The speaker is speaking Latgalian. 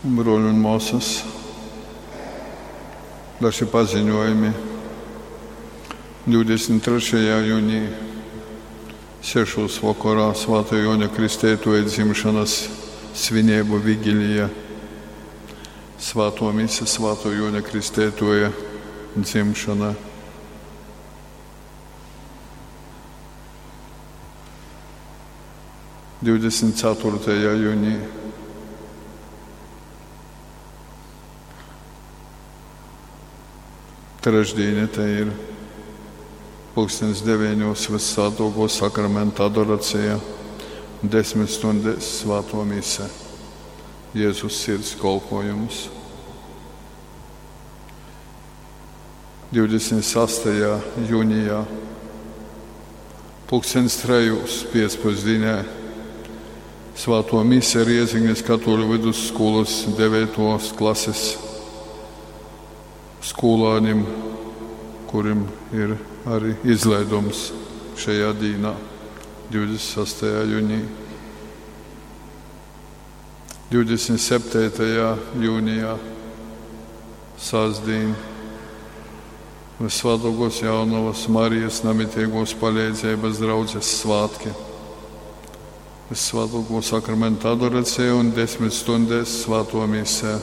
Bruoļi un muosys, daži paziņojumi. 23. junī 6. vokorā Svātā Juoņa Kristeituoja dzimšonys svineibu vigilija. Svātuo mise Svātuo Juoņa Kristeituoja dzimšona. 24. Junī trešdīne te ir pulkstens 9. Vyssvātuokuo Sakramenta adoracija, 10 stundēs Svātuo mise, Jezus Sirds kolpojums. 26. Jūnijā pulkstens 3. Piecpusdienē Svātuo mise Riezeknis katuoļu vidusskūlys 9. Klasis skūlānim, kurim ir arī izlaidums šajā dīnā, 26. Jūnijā. 27. Jūnijā, sastdien, Vyssvātuokos Jaunovas Marijas namitīgos paleidzības draudzes svātki. Vyssvātuoko Sakramenta adoracija un 10 stundēs Svātuo mise.